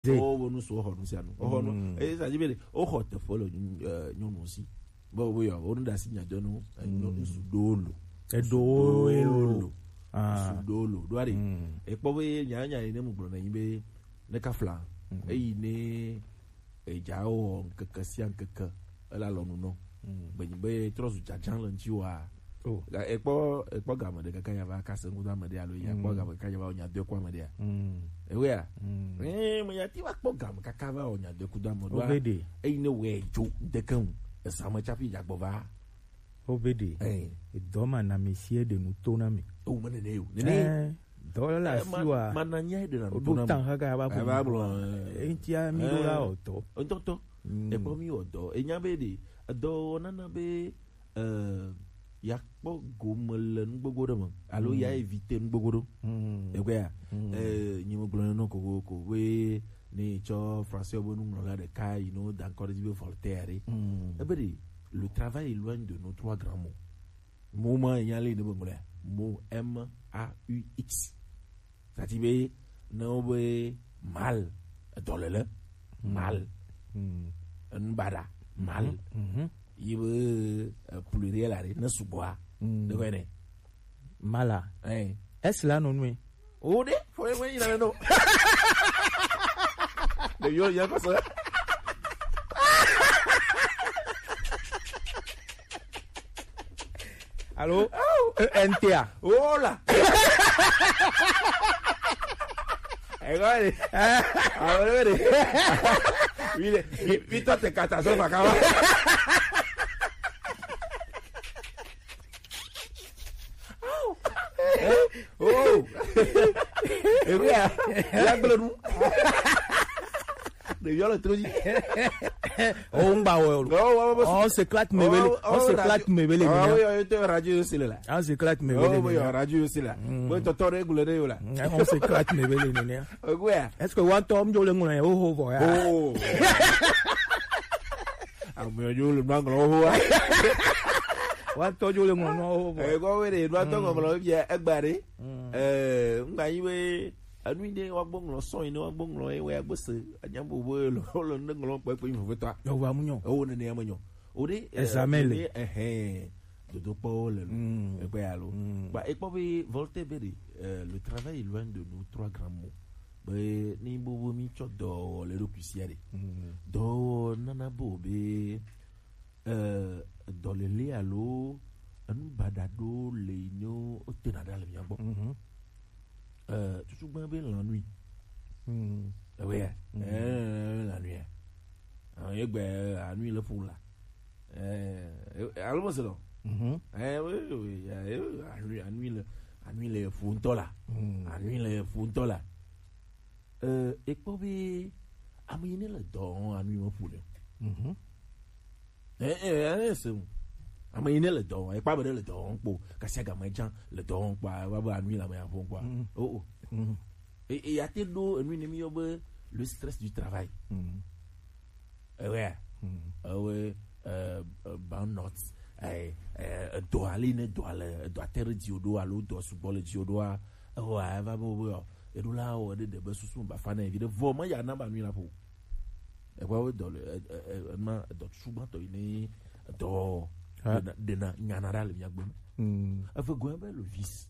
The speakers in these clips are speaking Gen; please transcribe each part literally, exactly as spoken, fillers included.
Ze. Wo wo nu su wo xɔ nu sia nu. Wo xɔ nu. Mm. E sa dzi be de, wo xɔ teƒe le nyu-, eh, nyɔnu si. Be wo yɔ, wo nu da si nya jɔ nu, eh, nyɔ-, ŋsu ɖo lo. Eɖo wo lo. Ah. Ŋsu ɖo lo. Ɖo ari. Mm. Ekpɔ be nya, nya yi ne mu gblɔ na yi be ne ka fla. Mm. Eyi ne edza wɔ ŋkeke sia ŋkeke, ele alɔnu nɔ. Mm. Be nyi be trɔ zu dzadzã le ŋuti wa. Oh. Ga-, ekpɔ, ekpɔ game ɖe kaka ya va kase ŋkudo ame ɖe alo ya kpɔ game kaka ya va nya do ekɔ ame ɖea. Mm. Ewe ya. Mm. Eh, me ya ti va kpɔ game kaka va nya do ekudo ame ɖoa. Obede. Eyi ne wɛ dzo ŋdeke ŋu. Ezame tsafi dzagbɔ va. Obede. Eh. Edɔ ma na mi si eɖe nu to na mi. O me nene yo. Nene. Eh, dɔ le asi wa. Ma na nya eɖe na nu to na mi. Oɖo tan kaka va gblɔ. Eva gblɔ, eh. Eŋtia mi ɖo la o tɔ. Ŋtɔtɔ. Mm. Ekpɔ mi wɔ dɔ. Enya be ɖe, edɔ wɔna na be, eh, ya kpɔ gome le nugbogbo ɖe me alo ya éviter nugbogbo ɖo. Mm. Ekpɔa? Mm. Eh, nyi me gblɔ nɔ kokoko be ne tsɔ français be nuŋlɔla ɖeka yi no da ŋkɔ ɖe dzi be Voltaire ɖe. Mm. Ebe ɖe, le travail éloigne de nos trois grands mots. Mo ma nya le ne be ŋlɔa. Mo, M A U X. Tati be ne wo be mal, edɔlele, mal. Mm. Enu baɖa, mal. Mhm. Yi be, eh, pluriel aɖe, ne sugbɔa, mm, ɖe kɔe nɛ. Mala. Eh. Es la nɔ nue. O ɖe, fo ye ŋue yi na no. Ɖeviwo ya kɔ se. Alo, E N T A. Oh là. Eh, ouais. Ah, ouais, ouais. Oui, le, oui, toi, t'es catastrophe, à Kawa. Oh. Eh, oui, hein. Il y a que le nous. Ɖeviwo le to dzi. O ŋgba wɔ lo. Oh, ouais, ouais, ouais. On s'éclate mebele. Oh, oh, on s'éclate radio. Mebele. Ah, oui, oui, radio aussi là. On s'éclate mebele. Oh, oui, radio aussi là. Mm. Bon, tonton, régule de là. Mm, on s'éclate mebele nene. Ouais. Est-ce que one tom jo le ngona o ho vo ya? Oh. Ame yo le manglo ho. One tom jo le ngona o ho vo. Eh, go we de, one tom nglo bi e gbare. Mm. Eh, nga yi we Enu yi ɖe woagbo ŋlɔ sɔn yi ne woagbo ŋlɔ ye wɔ agbe se anya bo bo le le ne ŋlɔ kpekpe yi vevitɔa. Ewa mu nyɔ. Ewo nene ya me nyɔ. O ɖe, eh, examen le. Nene, ehɛn, dodokpɔwo le lo. Mm. Ekpɔ ya lo. Mm. Ba ekpɔ be Voltaire be ɖe, eh, le travail éloigne de nous trois grands mots. Be ni bo bo mi tsɔ dɔwɔwɔ le ɖokui sia ɖe. Mm. Dɔwɔwɔ nana bo be eh, dɔléle alo enu baɖa ɖo le yi ne wotena ɖa le mia gbɔ. Mhm. Eh, tutugbã be lanui. Mhm. Ewe ya. Mhm. Eh, lanui ya. Ah, ye gbe, eh, anui le ƒo la. Eh, eh, alo mo se lɔ. Mhm. Eh, oui, oui, oui, eh, eh, anui, anui le, anui le ƒo ŋutɔ la. Mhm. Anui le ƒo ŋutɔ la. Eh, ekpɔ be ame yi ne le dɔ wɔm anui me ƒo le. Mhm. Eh, eh, eh, se ŋu. Ame yi ne le dɔ wɔm, ekpɔ be ɖe le dɔ wɔm kpo, kasia game dza le dɔ wɔm kpo, ava be anui le ame ya ƒom kpo. Mm. Oh, oh. Mm. E, e, ya te ɖo enu ne mi yɔ be le stress du travail. Mm. Ewe, mm, ewe, eh, eh, burnout, eh, eh, edɔ ali ne dɔ le, edɔ ate ɖe dziwò ɖo alo dɔ sugbɔ le dziwò ɖoa, ewa eva be wo be, eɖo la wɔ ɖe ɖe be susu ba fa ne vi ɖe vɔ me ya na ba nui la ƒo. Ekpɔ wo dɔ le, e, e, e, ema edɔ susu gbãtɔ yi ne edɔ ɖena, ɖena nyana ɖa le mia gbe. Mm. Eve gɔ̃ be le vice.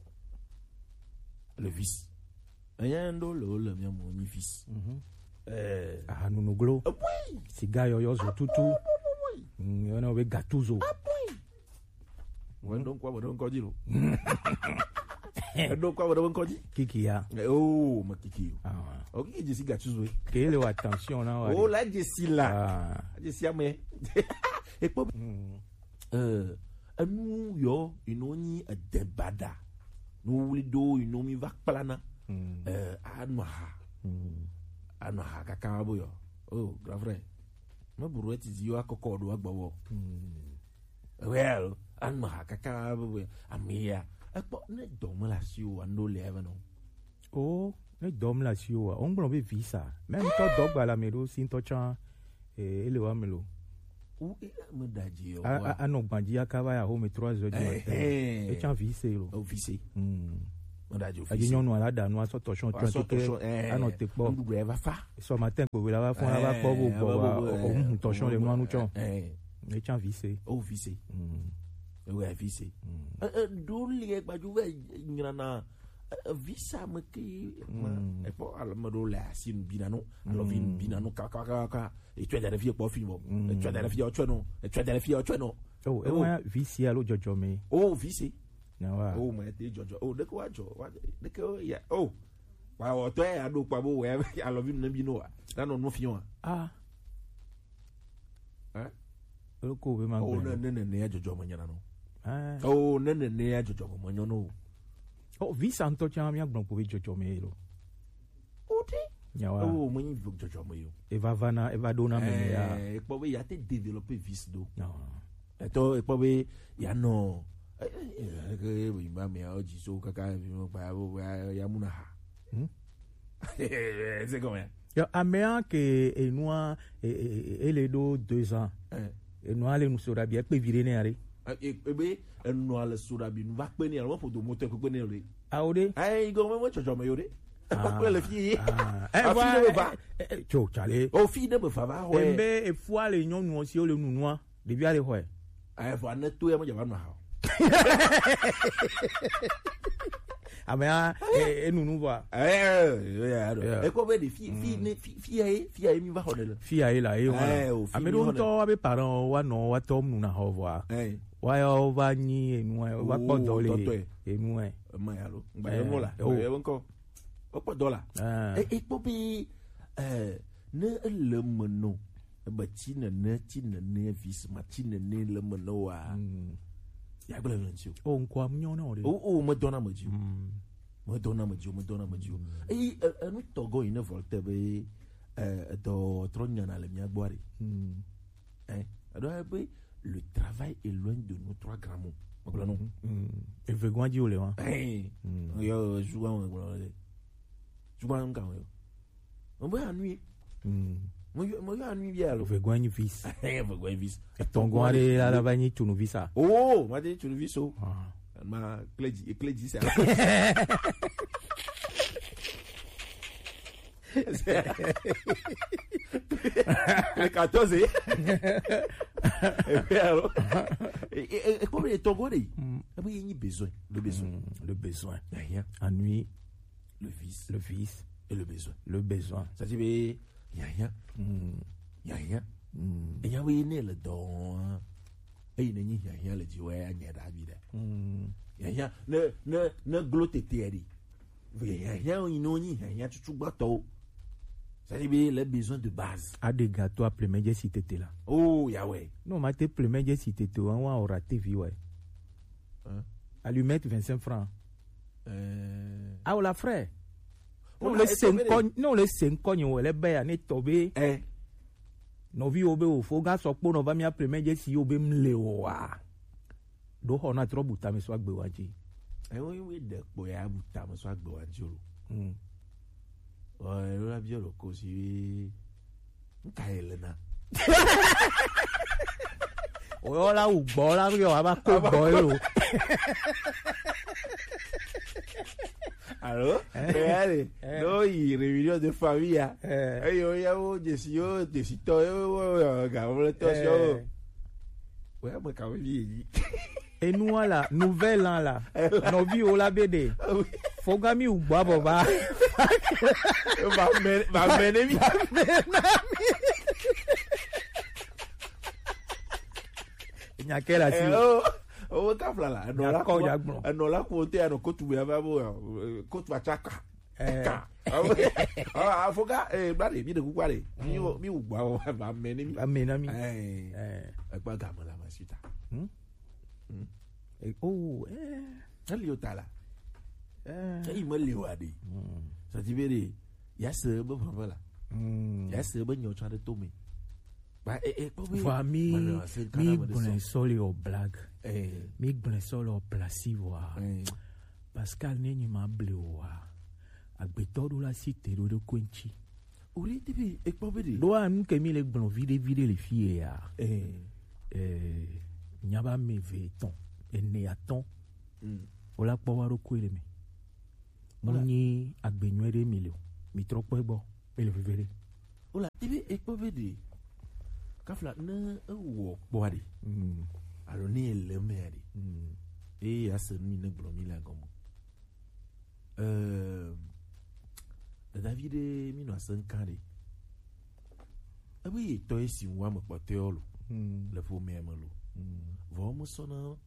Le vice. Enya ɖo le wo le mia mo nyi vice. Mhm. Eh. Ahanunuglo. Ebui. Siga yɔyɔ zo tutu. Ebui. Mm, yɔna wo be gatuzo. Ebui. Wo ɖo ŋkɔ, wo ɖo ŋkɔ dzi lo. Eɖo ŋkɔ, wo ɖo ŋkɔ dzi. Kiki ya. Eh, oh, me kiki yo. Ah. O kiki dzi si gatuzo. Ke le wa attention na wa. Oh, la dzi si la. Ah. Dzi si ame. Ekpɔ. Mm. Eh, enu yɔ, yi no nyi ede baɖa. Nu wli ɖo, yi no mi va kplana. Mm. Eh, anɔ ha. Mm. Anɔ ha kaka bo yɔ. Oh, grand frère. Me buru eti zi yo akɔkɔ ɖo agbɔ wɔ. Mm. Well, anɔ ha kaka bo yɔ. Ame ya. Ekpɔ ne dɔ me le asi o, ando le eve no. O, ne dɔm le asiwò wa, wogblɔ be visa. Mɛ ŋutɔ dɔ gba le ame ɖewo si ŋutɔ tsã, eh, ele wa me lo. Wo, eh, me da dzi o, a, wa. A, anɔ gbadzi aka va ya home trois heures du matin. Eh, eh. Etsã vise lo. O, vise. Hmm. Adi nyɔnu ala da nu asɔ tɔsɔn tɔn tike anɔ te kpɔ. Sɔ matin gbogbo la va fɔ la va kpɔ bo gbɔ wa o mu tɔsɔn le nu anu tsɔn. Ne tsan vi se. O vi se. Ewe vi se. Ɖo le gbajú vɛ nyina na visa me ke ma. Ekpɔ alo me ɖo le asi nu bina no alo vi nu bina no kakakaka. Etsɔ da ɖe fi kpɔ fi mɔ. Etsɔ da ɖe fi ɔtsɔ no. Etsɔ da ɖe fi ɔtsɔ no. O ewa vi se alo dzɔdzɔ me. O vi se. Nyawa. O ma te dzɔdzɔ. O ɖeke wa dzɔ. Wa ɖeke o ya. O. Wa wɔ tɔ ya ɖo kpa bo wɛ alɔvi ne bi no wa. Na nɔ nu fi wa. Ah. Eh? Elo ko be ma O gbe. Ne ne ne ya dzɔdzɔ me nyana no. Ah. O ne ne ne ya dzɔdzɔ me nyɔ no. O visa ŋutɔ tsã mía gblɔ ko be dzɔdzɔ me lo. O te. Nyawa. O me nyi dzɔdzɔ me yo. Eva va na eva ɖo na me me ya. Eh, ekpɔ be ya te développer vis do. Etɔ ekpɔ be ya nɔ. Eh, eh, eh, eh, ba me ya o dzi so kaka vi mo pa ya ya mu na ha. Hmm? C'est comment? Yo, amea ke enua e, e, e, ele ɖo deux ans. Eh. Enua le nu so ɖabi ekpe vi ɖe ne are. Eh, e, ebe enua le so ɖabi nu va kpe ne alo ƒodo mo te kpe ne le. Awo ɖe. Ai go mo tsɔtsɔ me yo ɖe. Ah. Kpe le fi. Ah. Eh, afi va, ɖe va. Eh, eh, tso tsale. O fi ɖe be va va ho. Embe efua le nyɔnu si o le nunua. Ɖevi aɖe xɔe. Evɔ ne to ya me dzava nɔ ha o. Amea e- enunu vɔa. Eh, eh, eh, eh, Yeah. Ekɔ be ɖe fi fi ne fi fi ya ye fi ya ye mi va xɔ ɖe le. Fi ya ye la ye wa. Eh, o, fi Ame mi ɖewo xɔ ŋutɔ ɖe. Wa be parents wa nɔ wa tɔ nu na xɔ vɔa. Eh. Wa ya wo va nyi enu wa kpɔ Oh, dɔ le tɔtɔe. Enu ɛ. Ema ya lo. Ngba ye mo la. Eh, oh. Ye ŋkɔ. Wokpɔ dɔ la. Ah. E ekpɔ be eh ne ele me no. Ebe tsi nene, tsi nene, visma tsi nene le me ne wa. Mm. Ya gblẽ le ŋuti o. O ŋkɔa mu nyɔ na o ɖe. O, o, medɔna me dzi o. Mm. Medɔna me dzi o, medɔna me dzi o. Mm. Eyi, e, enu tɔgɔ yi ne vɔ te be, e, edɔ trɔ nyana le mía gbɔ ɖe. Mm. Eh, eɖo be le travail éloigne de nous trois grands mots. Megblɔ no. Mm. Eve gɔn dzi o le wa. Eh. Mm. Yo, zuwa megblɔ le. Zuwa ŋka yo. Mo be anui. Mm. Mo yo, mo yo anui bia lo. Vegwa nyi vis. Vegwa vis. Etongo are ala ba nyi tunu visa. Oh, ma de tunu viso. Ah. Ma kleji, kleji sa. Le quatorze. Et puis alors, et, et, et comme les Togolais, mm, ah oui, il y a besoin, le besoin. Mm, le besoin. Rien. Ennui. Le vice. Le vice. Et le besoin. Le besoin. Ça dit, mais, il y a rien. Mm. Il y a rien. Mm. Et il y a oui, il y a le don. Et il y a rien, le Dieu, ouais, il y a la vie. Mm. Il y a rien. Ne, ne, ne glotte terre. Hiahiã yi nɔ nyi hiahiã tutu gbãtɔwo. C'est-à-dire be les besoins de base. A ɖe ga to a plein mɛ dze si tete la. Oh, Yahweh. Non, ma te plein mɛ dze si tete o, an wa ora T V wɛ. Hein? Allumette vingt-cinq francs. Euh. Ah, o la frère. Non, le cinq, non, le cinq, on le baya ne tobe. Eh. Nɔvi wo be wo fo ga sɔ kpo nɔ va mía plein mɛ dze si yo be mle o wa. Ɖo xɔ na trɔ bu tame sɔ agbe wa dzi. Ewo yi we ɖe kpo ya bu tame sɔ agbe wa dzi o. Hmm. Ɔ, elo la biɔ lo ko si we. Nka ye le na. O yɔ la wu gbɔ la yɔ a ba ko gbɔ ye lo. Alo? Eh. Eh, allez. Eh. No yi réunion de famille ya. Eh. Eyo ya wo jesi yo jesi tɔ yo wo yo ga wo le tɔ si yo. Eh. Ouais, moi quand même yi. Enua la, nouvelle an la, nɔvi wo la be ɖe. Ah oui. Fogami wu gbɔ abɔ ba. Ba mɛ, ba mɛ ne mi. Nya ke la si. Eh, oh, oh, ka fla la. Enɔ la ko, enɔ la ko te anɔ kotu be ava bo, eh, kotu atsaka. Eh. Ka. Ah, ah, foga, eh, bla de, bi de kukua de. Mi wo, mi wo gba wo, ba mɛ ne mi. Ba mɛ na mi. Eh. Eh. Egba ga me la ma suta. Hmm? Hmm. Eh, oh, eh. Eli o ta la. Eh. Eli me le wa de. Hmm. Ça dit, be de, ya se be vava la. Hmm. Ya se be nyo cha de to me. Ba, eh, eh, kpɔ be. Vɔa mi, mi gblẽ sɔ le o blague. Eh. Mi gblẽ sɔ le o place vɔa. Eh. Pascal ne nyi ma ble o wa. Agbetɔ ɖo la si te ɖo ɖo ko ŋtsi. O ɖe te be ekpɔ be ɖe. Ɖo a nu ke mi le gblɔ viɖe viɖe le fi ye ya. Eh. Eh, nya ba me ve etɔn, ene atɔn. Mm. O la kpɔ wa ɖo ko le me. Mu nyi agbe nyuie ɖe mi le o. Mi trɔ kpɔe gbɔ. Mi le veve ɖe. Ola, ebe ekpɔ be ɖe. Kafla ne ewɔ kpɔa ɖe. Mm. Alo ne ele mea ɖe. Mm. Eye ase nu yi ne gblɔ mi le agɔme. Ehm, Dadavi ɖe mi nɔ ase ŋka ɖe. Ebe ye tɔ ye si ŋu ame kpɔtɔewo lo. Mm. Le ƒomea me lo. Mm. Vɔ mesɔna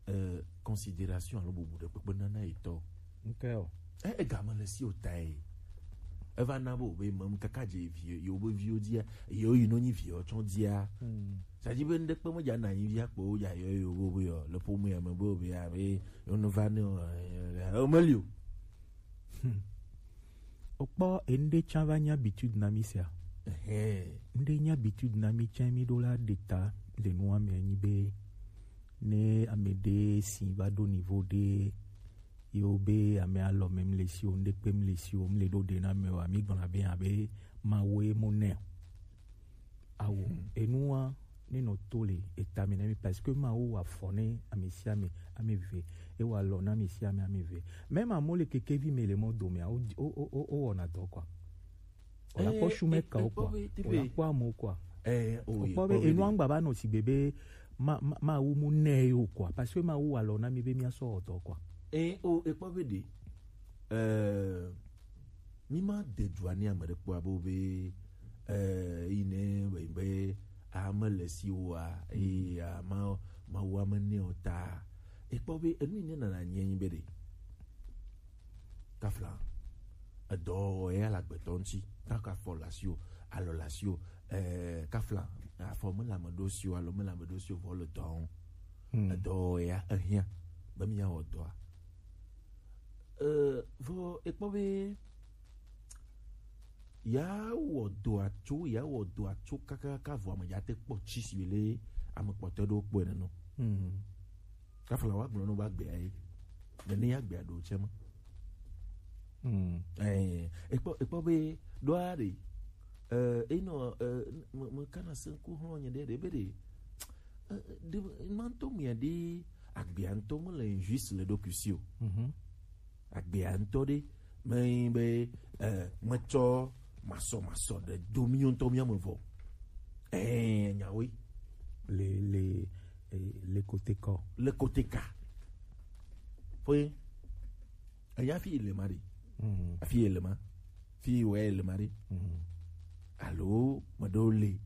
eh, considération alo bubu ɖe kpekpe nana etɔ. Ŋke o. E, egame le si o tae. Eva na be wobe mem kaka dze vi yewo be viwo dzia, yewo yi nɔ nyi viwo tsɔ dzia. Hmm. Sadzi be ŋɖe kpe medza na nyi via kpo wodza yɔ yewo be yɔ le ƒomea me be wobe ya be yewo neva ne o, eh, eh, o meli o. Hmm. Okpɔ enuɖe tsã va nye habitude na mi sia. Ehe. Nuɖe nye habitude na mi tsã mi ɖo la ɖe ta le nua me anyi be ne ame ɖe si va ɖo niveau ɖe yewo be ame alɔ me mle si o, nuɖe kpe mle si o, mle ɖo ɖe na me o, ami gblɔ be abe Mawu ye mo nɛ o. Awo, hmm, enua ne nɔ to le eta me na mi parce que Mawu wa fɔ ne ame sia ame, ame ve, e wa lɔ na ame sia ame, ame ve. Même amewo le kekevi me le mɔ dome, o, o, o, o, o wɔna dɔ quoi. O la kpɔ shume ka o quoi. O la kpɔ amewo quoi. Eh, o kpɔ be enua ŋgba va nɔ sigbe be ma, ma, Mawu mu nɛ o quoi. Parce que Mawu wa lɔ na mi be mi asɔ wɔ dɔ quoi. Eh, o, e kpɔ be ɖe. Eh, Mi ma de dua ne ame ɖe kpɔ abe be, eh, yi ne be, be ame le si woa, eye ama, Mawu ame ne o ta. Ekpɔ be enu yi ne nana nye nyi be ɖe. Kafla. Edɔ ya le agbetɔ ŋuti. Kaka fɔ le asi o, alɔ le asi o, eh, kafla. Afɔ me le ame ɖo si o, alo me le ame ɖo si o, vɔ le dɔ ŋu. Hmm. Edɔ ya ehiã. Be mi ya wɔ dɔa. Eh, vɔ ekpɔ be ya wɔ dɔa tso, ya wɔ dɔa tso kakaka vɔ ame ya te kpɔ tsi si le ame kpɔtɔ ɖewo kpɔe nenu. Hmm. Kafla wa gblɔ no ba gbea ye. Nene ya gbea ɖo tsɛ ma. Hmm. Eh, ekpɔ, ekpɔ be ɖoa ɖe. Eh, enɔ, eh, me, me kana se ŋku hlɔ nye ɖe, ɖe be ɖe. Eh, ɖe, ma ŋutɔ mia ɖe agbea ŋutɔ mele injuste le ɖokui si o. Mhm. Agbea ŋutɔ ɖe, me be, eh, metsɔ masɔmasɔ ɖe do mi ŋutɔ mia me vɔ. Eh, nyawoe. Le, le, eh, le kote kɔ. Le kote ka. Foye. Eya fi le ma ɖe. Mm. Afi le ma. Fi wɛ le ma ɖe. Mm. Alo, me ɖo le.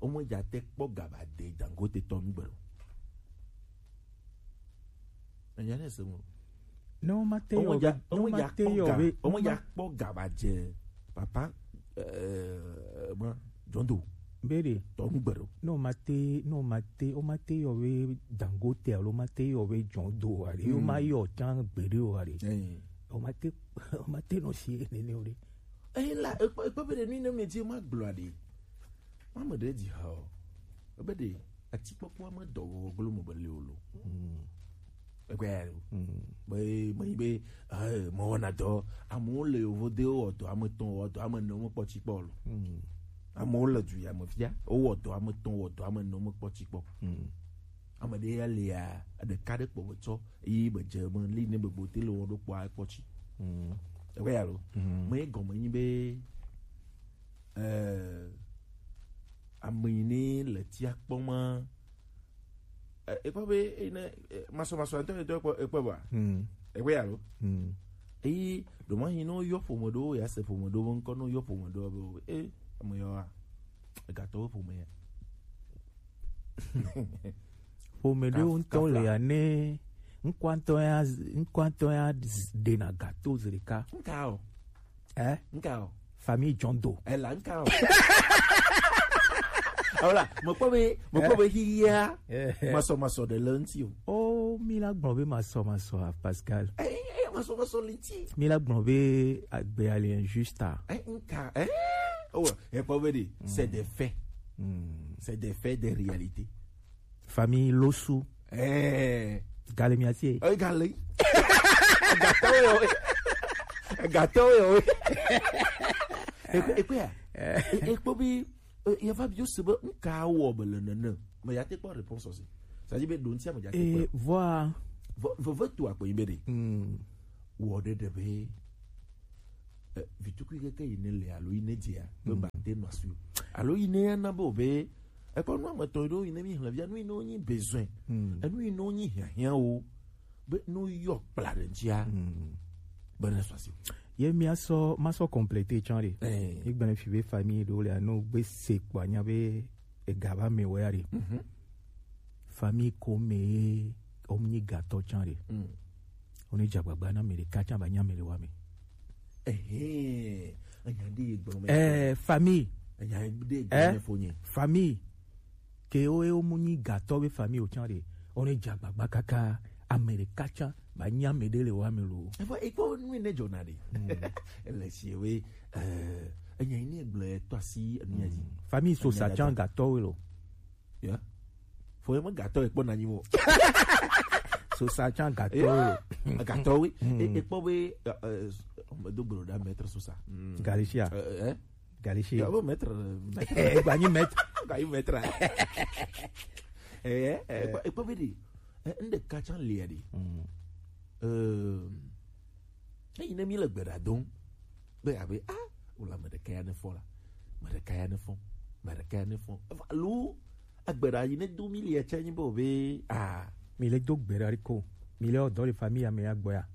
Wo me dza te kpɔ gaba de Dangote tɔ mi gbe lo. Enya ne se mo. Ne wo ma te yɔ be, ne wo ma te yɔ be, wo me dza kpɔ gaba dze papa, eh, ma, John Doe. Be ɖe. Tɔ nu gbe ɖo. Ne wo ma te, ne wo ma te, wo ma te yɔ be Dangote alo ma te yɔ be John Doe o aɖe. Wo ma yɔ tsã gbeɖe o aɖe. Eh. Wo ma te, wo ma te nɔ si nene o ɖe. Eh, la, ekpɔ, ekpɔ be ɖe nu yi ne me dzi ma gblɔ aɖe. Ma me ɖe dzi ha o. Ebe ɖe atikpɔkpɔ ame dɔ wɔ glo me be le o lo. Mm. Ekpɛ ya lo. Mm. Be, me yi be, eh, me wɔna dɔ. Amewo le yovo de wɔ dɔ ame tɔn wɔ dɔ ame ne me kpɔ tsi kpɔ lo. Mm. Amewo le du ya me fia, wo wɔ dɔ ame tɔn wɔ dɔ ame ne me kpɔ tsi kpɔ. Mm. Ame ɖe ya le ya, ɖeka ɖe kpɔ me tsɔ, yi be dze me li ne be gbote le wɔ ɖo kpɔ akpɔ tsi. Mm. Ekpɛ ya lo. Mm. Me gɔme nyi be, eh, ame yi ne le tia kpɔ ma, eh, ekpɔ be, eh, ne, eh, masɔ, masɔ ŋutɔ, ŋutɔ ekpɔ, ekpɔ ba? Hmm. Ekpɔ ya lo? Hmm. Eyi, ɖo ma yi ne woyɔ ƒome ɖewo, ya se ƒome ɖewo be ŋkɔ, ne woyɔ ƒome ɖewo be, eh, ame yawoa, egatɔwo ƒome ya. Ƒome ɖewo ŋutɔ le ya ne ŋkɔa ŋutɔ ya, ŋkɔa ŋutɔ ya ɖena gato zi ɖeka. Ŋka o. Eh? Ŋka o. Famille John Doe. Ela ŋka o. Awola, mekpɔ be, mekpɔ be xixia, eh, masɔ, masɔ ɖe le ŋuti o. Oh, mi la gblɔ be masɔ, masɔ a Pascal. Eh, eh, masɔ, masɔ le ŋuti. Mi la gblɔ be agbea le injuste a. Eh, ŋka, eh? Oh, ekpɔ be ɖe, c'est des faits. Hmm. C'est des faits, des réalités. Famille Losu. Eh. Gale mi asi. Eh, gale. Gatɔwo yɔ. Gatɔwo yɔ. Ekpe, ekpe ya. E, ekpɔ bi, e, ya va bi o se be ŋka wɔ be le nene. Me ya te kpɔ réponse aussi. Ça dit be ɖo ŋuti me ya te kpɔ. Eh, voilà. Veve tu akpɔ yi be ɖe. Hmm. wɔ ɖe ɖe be, eh, vitukui keke yi ne le alo yi ne dzia, be, mm, ba te nɔ asi o. Alo yi ne ya na be o be, ekɔ nu ame tɔ ɖewo yi ne mi hlɛ via, nu yi ne wo nyi besoin. Mm. Enu yi ne wo nyi hiahiã wo, be ne wo yɔ kpla ɖe ŋutia, mm, be ne sɔ asi o. Ye mia sɔ, ma sɔ compléter tsã ɖe. Eh. Mi gblẽ fi be famille ɖewo le anu gbe se kpɔ anya be ega va me wɔ ya ɖe. Mhm. Famille ko me ye wo nyi gatɔ tsã ɖe. Mm. Wo ne dze agbagba na ame ɖeka tsã ba nya ame le wa me. Ehe, enya ɖe ye gblɔ me. Eh, famille. Enya ɖe ye gblɔ me fo nye. Famille. Ke wo, wo mu nyi gatɔ be famille o tsã ɖe. Wo ne dze agbagba kaka ame ɖeka tsã ba nya ame ɖe le wa me lo. Efo, ekpɔ nu ne dzɔna ɖe. Mm. Ele si we, eh, enya yi ne gblɔ tɔ asi enu ya dzi. Mm. Famille so sa tsã gatɔ we lo. Ya. Fo ye me gatɔ ekpɔ na nyi mo. So sa tsã gatɔ we. Ya. Gatɔ we. Mm. E, ekpɔ be, eh, eh, do gblo da maître so sa. Mm. Galicia. Eh, eh. Galicia. Ya, bo maître, maître. Eh, gba nyi maître. Gba nyi maître. Eh, eh, eh, ekpɔ, ekpɔ be ɖe. Eh, ŋɖe ka tsã lia ɖe. Mm. Eh, eyi ne mi le gbe ɖa dom. Be abe, ah, wo le ame ɖeka ya ne fɔ la. Ame ɖeka ya ne fɔ. Ame ɖeka ya ne fɔ. Eva lo, agbe ɖa yi ne do mi lia tsã nyi be o be, ah. Mi le do gbe ɖa ɖi ko. Mi le wɔ dɔ le famille ame ya gbɔ ya.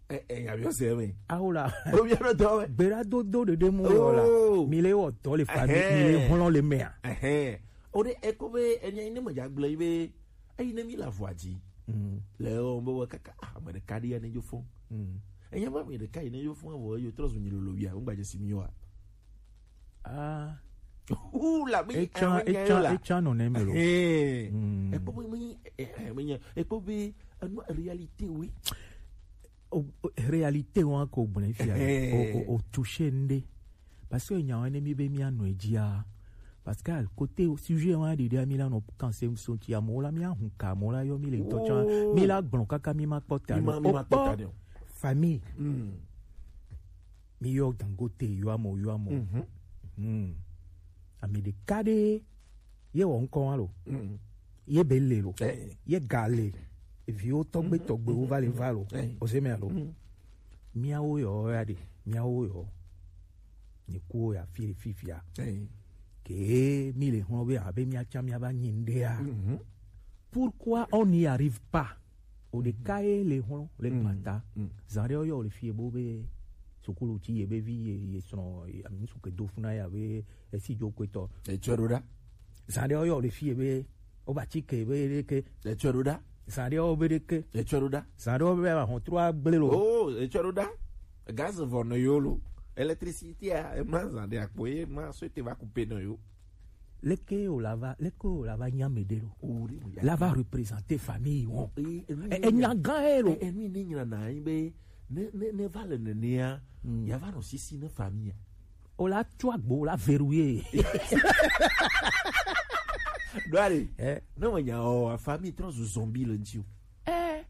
Eh, eh, ya mi se me. Awo la. O mi ro do. Gbeɖadodo ɖeɖe mu yɔ la. Oh. Mi le wɔ dɔ le famille, mi le hlɔ̃ le mea. Ehɛn. O ɖe eko be enya yi ne me dza gblɔ yi be eyi ne mi le avɔa dzi. Mm. Le o be wɔ kaka, ah, ame ɖeka ɖi ya ne dzo fɔn. Mm. Enya be ame ɖeka yi ne dzo fɔn avɔ yo trɔ zu nyi lolo wia, ŋgba dze si mi wa. Ah. Hu la be etsã, etsã, etsã nɔ ne me lo. Ehɛn. Mm. Ekpɔ be me, eh, eh, me nya, ekpɔ be enu réalité oui. O, o, réalité wa ko gblẽ fia. Ehɛn. O, o, o touché ŋɖe. Parce que nya wa ne mi be mi anɔ dzia. Parce que côté sujet wa ɖeɖe mi la nɔ kanse so ti amo la mi ahun ka mo la yɔ mi le ŋutɔ tsã. Oh. Mi la gblɔ kaka mi ma kpɔ ta. Mi ma, mi ma kpɔ ta ɖe o. Famille. Mm. Mi yɔ Dangote yɔ amo yɔ amo. Mhm. Mm. Ame ɖeka ɖe ye wɔ ŋkɔ wa lo. Mm. Ye be le lo. Eh. Ye ga le. Eviwo tɔgbe, mhm, tɔgbewo va le va lo. Eh. O se me lo. Mm. Miawo yɔ ya ɖe. Miawo yɔ. Nye kuwo ya fi fifia. Eh. Ke mi le hlɔ̃ be abe mia tsã mia va nyi ŋɖea. Mhm. Pourquoi on n'y arrive pas? O ɖeka ye le hlɔ̃ le, mhm, gbata. Mm. Zan ɖe yɔ le fie bo be sukulu ti ye be vi ye, ye srɔ̃, ye, ami ŋsu ke do funa ya be esi dzo kpetɔ. Etsɔ ɖo ɖa. Zan ɖe yɔ le fie be o ba ti ke be ɖe ke. Etsɔ ɖo ɖa. Zan ɖe yɔ be ɖe ke. Etsɔ ɖo ɖa. Zan ɖe yɔ be ahɔn trɔ agble lo. Oh, etsɔ ɖo ɖa. Gaz vɔ nɔ yo lo. Électricité a, e ma zan ɖe akpo ye ma so te va couper nɔ yo. Leke o la va, leke o la va nya me ɖe lo. O ɖe mo ya. La va représenter famille wo. E, e, e, enya gã ye lo. E, e, mi ni nyina na yi be ne, ne, ne va le nenea, mm, ya va nɔ sisi ne famille. O la tu agbo, o la verrouiller. Ɖo ale. Eh. Ne me nya o, famille trɔ zu zombie le ŋuti o. Eh.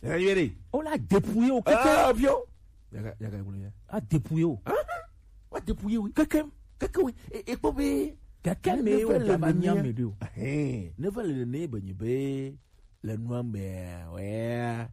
Eh, yere. O la dépouiller o keke. Ah, bio. Yaga, yaga, yaga, yaga. A dépouiller o. Ah, wa dépouiller, oui. Keke. Keke, oui. E, e kpɔ be. Keke me o va nya me ɖe o. Ehɛn. Ne va le ne be nyi be le nua me, ouais.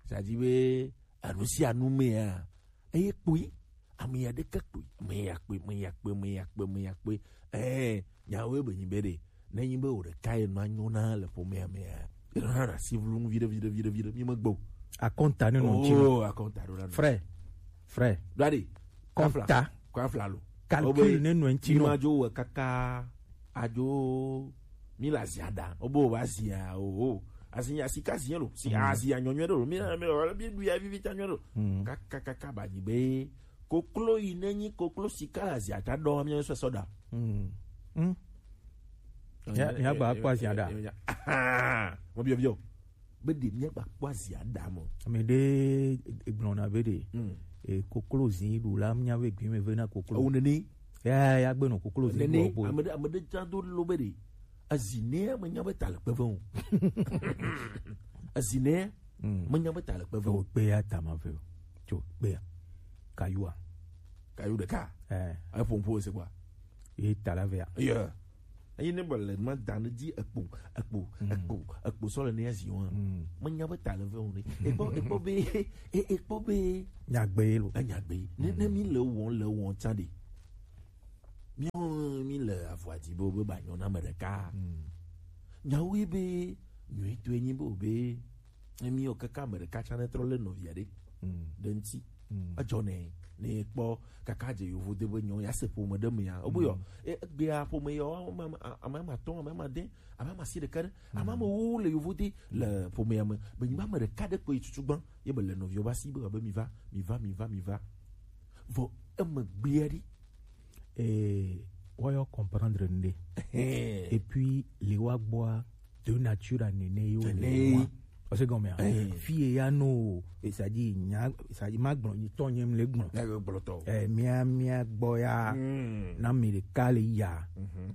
Ça dit be, anu si anu me, hein. Eye kpui, ame ya ɖeke kpui, ame ya kpui, ame ya kpui, ame ya kpui, ame ya kpui. Eh, nyawoe be nyi be ɖe, ne nyi be wò ɖeka ye nɔ anyo na le ƒomea mea, enɔna ɖe asi vlum viɖe, viɖe, viɖe, viɖe, mi megbe o. Akɔnta ne nɔ ŋuti. Oh, akɔnta ɖo na nɔ. Frère, frère. Ɖo aɖe. Kɔnta. Kɔnfla lo. Calcul ne nɔ ŋuti nɔ. Mi ma dzo wɔ kaka adzo mi le azia ɖa. Wobe wova zia o, o. Azia sika zia lo. Si azia nyɔnyɔ ɖe lo. Mi na mi lo, mi ɖu ya vivi ta nyɔ lo. Kaka, kaka ba nyi be koklo yi ne nyi koklo sika le azia ta ɖɔ mi sɔ sɔ ɖa. Mm. Mm. Ya, ya gba kpɔ azia ɖa. Mo biɔ biɔ. Be ɖe mi gba kpɔ azia ɖa mo. Ame ɖe gblɔna be ɖe. Mm. E koklo zi ɖu la nya be gbi me ve na koklo. Ewu nene. Ya, ya gbe nɔ koklo zi nene, ɖu bo. Ame ɖe, ame ɖe dza do lo be ɖe. Ezi ne me nya be ta le kpe ve o. Ezi ne, mm, me nya be ta le kpe ve o. O kpe ya ta ma ve o. Tso kpe ya. Kayua. Kayu ɖeka. Eh. Eƒo ŋƒo se kpɔa. Ye ta la vea. Yeah. Eyi ne bɔ le ma da ne dzi ekpo, ekpo, ekpo, ekpo sɔ le ne ya zi wa. Me nya be ta le ve o ne. Ekpɔ, ekpɔ be, e-, ekpɔ be. Nyagbe lo. Enya gbe. Ne, ne mi le wɔm, le wɔm tsa de. Mi, mi le avɔa dzi be, be ba nyɔ na ame ɖeka. Nyawo ye be, nyuie to enyi be, be, ne mi yɔ kaka ame ɖeka tsa ne trɔ le nɔvia ɖe. Ɖe ŋuti. Edzɔ ne, ne kpɔ kaka dze yovo de be nyɔ, ya se ƒome ɖe me ya. Obo yɔ, e-, egbea ƒome yɔ, ame, ame, ame atɔ̃, ame ade, ame ame asi ɖeka ɖe, ame ame wo le yovo de le ƒomea me. Be nyigba ame ɖeka ɖe kpoe tutu gbã, ye be le nɔviwo ba si be, be mi va, mi va, mi va, mi va. Vɔ eme gbea ɖi. Eh, woyɔ comprendre nde. Et puis, le wa gbɔa, de nature à nene yo le wa. Parce que, mais, fille ya no, c'est-à-dire, nya, c'est-à-dire, ma gbɔn, ni tɔ nyem le gbɔn. Eh, mia, mia gbɔ ya, na mi le kale ya.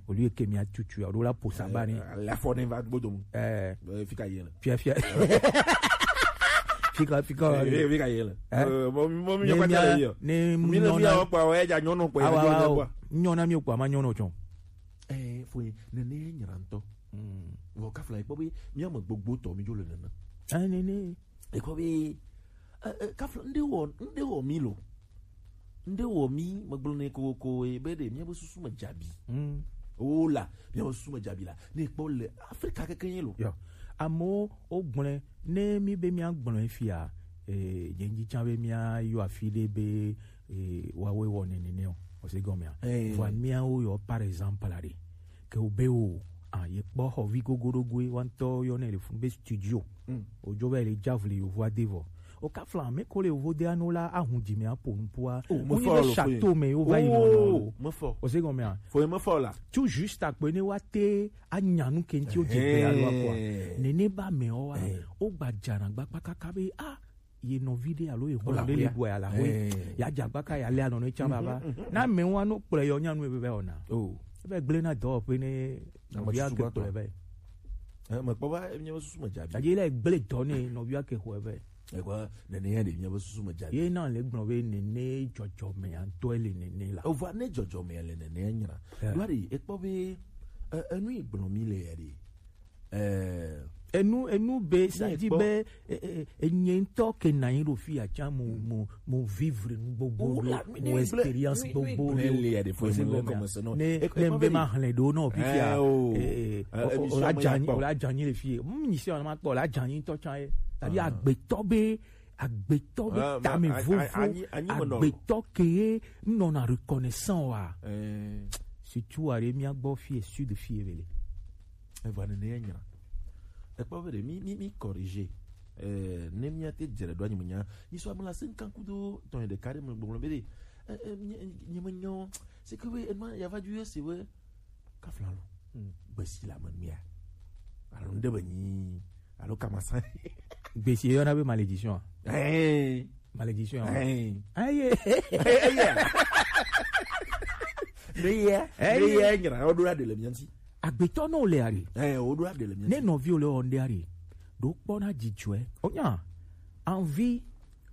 Au lieu que mia tutu ya, o la posa bani. La fo ne va bodo. Eh, fika yele. Fia, fia. Fika, fika. Eh, fika yele. Eh, mo, mo, mi ne ka tele yo. Ne mi le mi o pa, wa ja nyono pa, ya nyono pa. Nyona mi o pa, ma nyono chon. Eh, fo ne ne nyranto. Wo ka fla ipo bi, mi ame gbogbo to mi jo le nana. Eh, ne, ne. Ekɔ be, eh, eh, kafla, nde wɔ, nde wɔ mi lo. Nde wɔ mi, megblɔ nɛ kokoko, eh, be ɖe míabe susu me dzabi. O la, míabe susu me dzabi la. Ne kpɔ le Afrika keke ye lo. Yo. Amewo wogblɔe, ne mi be míagblɔe fia, eh, nye ŋdi tsã be míayɔ afi ɖe be, eh, woawoe wɔ nene nɛ o. Ose gɔmea. Eh. Vɔa míawo yɔ, par exemple, la ɖe. Ke wo be o, ah, ye kpɔ xɔ vi gogoɖogoe, wa ŋutɔ yɔ nɛ le fun be studio. Ojo va yi le dza vli yovo ade vɔ. O ka fla me ko le yovo de anu la ahun dzi me apo nupua. Wonyi be château me yo va yi nɔnɔ o. Mefɔ. O se gɔmea. Fo mefɔ la. Tout juste akpe ne wa te anya nu ke ŋti o dze gbe alo akɔa. Nene ba me o wa. O gba dzana gba kpakaka be, ah, ye nɔvi ɖe alo ye xɔ ɖe le bua ya la hoe. Ya dza gba ka ya le anɔ ne tsa baba. Na me wa no kplɔ yɔ nyanu ebe be ona. O. Ebe gble na dɔwɔƒe ne nɔvia ke kplɔ be. Eh, mekpɔ va, míabe susu me dzabi. Adi le gble dɔ ne nɔvia ke xɔe vɛ. Ekɔ nene ya ɖe míabe susu me dzabi. Ye na le gblɔ be nene dzɔdzɔme ya ŋutɔ le nene la. Ova ne dzɔdzɔme ya le nene ya nyra. Yeah. Ɖoa ɖe ekpɔ be, eh, enu yi gblɔ mi le ya ɖe. Eh, enu, enu be, sa di be, eh, eh, enye ŋutɔ ke na yi ɖo fi ya tsã mo, mo, mo vivre nu gbogbo ɖo, mo expérience gbogbo ɖo. Ne, ne be ma hlẽ ɖo nɔ fifia, eh, o la dzanyi, o la dzanyi le fie. Mm, nyi se ma kpɔ, o la dzanyi ŋutɔ tsã ye. Tadi agbetɔ be, agbetɔ be tame vovo, agbetɔ ke ye nɔna reconnaissant wa. Surtout are mia gbɔ fie, sud fie vele. Eva nene ya nyra. Ekpɔ be ɖe mi, mi, mi corriger. Eh, ne mia te dzre ɖo anyi menya. Nyi so amela se nkan kudo tɔn ɖeka ɖe me gbɔgblɔ be ɖe. Eh, eh, nye, nye me nyɔ. C'est que we, ema ya va du se we. Kafla lo. Gbesi la me mia. Alo nde be nyi. Alo kamasa. Gbesi yɔ na be malédiction. Eh. Malédiction. Eh. Aye. Eh, eh, yeah. Ne ye, ne ye nyra, o do la de le mianti. Agbetɔ no le ari. Eh, o do la de le mianti. Ne nɔvi o le o nde ari. Do kpɔ na dzidzɔe. O nya. Envie,